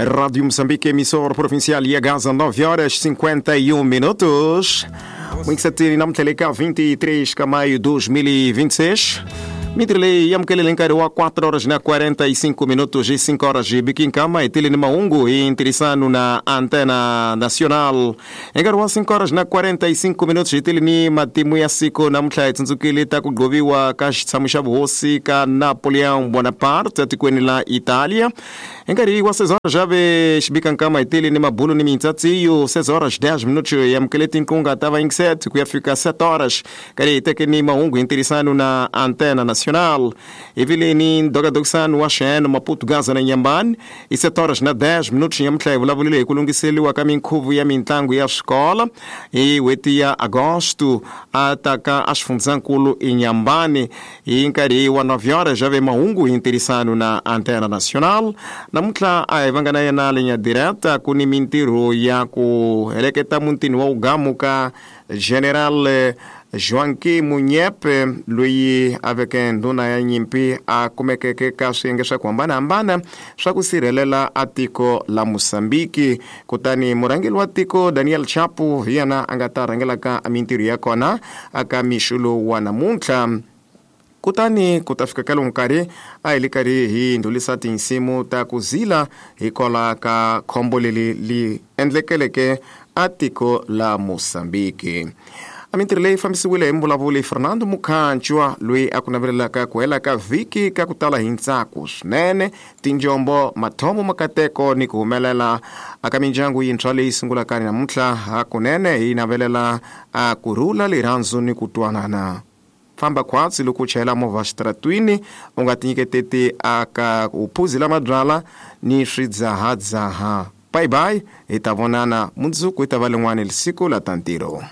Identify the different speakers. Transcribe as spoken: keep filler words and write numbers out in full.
Speaker 1: Rádio Moçambique, emissora provincial ya Gaza, nove horas cinquenta e um minutos. Mwingisatini na mtleleka vinte e três de maio de dois mil e vinte e seis. Mitrele yamkelele nkarhi wa quatro horas na quarenta e cinco minutos e cinco horas de Biquincama e tele ni Maungu e interessano na Antena Nacional. Nkarhi wa cinco horas na quarenta e cinco minutos e tele ni matimu ya siku namuntlha hi tsundzukile ta ku gqoviwa ka xitshamo xa vuhosi ka Napoleon Bonaparte etikweni la Italia. Nkarhi wa seis horas já ve Xibikankama e tele ni mabulo ni mintsatsiyo seis horas dez minutos yamkele tinkunga ta va sete ku ya fika sete horas. Nkarhi hi teke ni Maungu interessano na Antena Nacional. Evile ni dogadoksan wa xen Maputo Gaza na Inhambane e sete horas na dez minutos nyamutlha hi vulavulile hi ku lunghiseliwa ka minkhuvo ya mintlangu ya swikolo hi n'hweti ya agosto a ta ka a xifundzankulu Inhambane hi nkarhi wa nove horas já ve mahungu hi ntirhisano na Antena Nacional. Namuntlha a hi vanga na yena linya direta ku ni mintirho ya ku heleketa mutini wa ugamu ka General Joaquim Munyepe loyi a veke ndhuna ya nyimpi a kumekeke ka swiyenge swa ku hambanahambana swa ku sirhelela a tiko la Mozambique. Kutani murhangeri wa tiko Daniel Chapo hi yena a nga ta rhangelaka mintirho ya kona aka mixo lowu wa namuntlha. Kutani ku ta fika ka lowu nkarhi a hi le karhi hi ndlhulisa tinsimu ta ku zila hikwalaho ka khombo leri li endlekeleke a tiko la Mozambique. A mintirho leyi fambisiwile hi mvulavuli Fernando Mukhanchwa loyi a ku navelelaka ku hela ka vhiki ka ku tala hi ntsako swinene, tinjombo, mathomo, makateko ni ku humelela aka mindyangu yintshwa leyi sungulaka namuntlha. Hakunene hi navelela a ku rhula, rirhandzu ni ku twanana. Famba khwatsi loko u chayela movha xitaratwini, u nga tinyiketeti aka ku phuzela mabyala ni swidzahadzaha. Bye bye, hi ta vonana mundzuku hi ta va lin'wana siku la ta ntirho.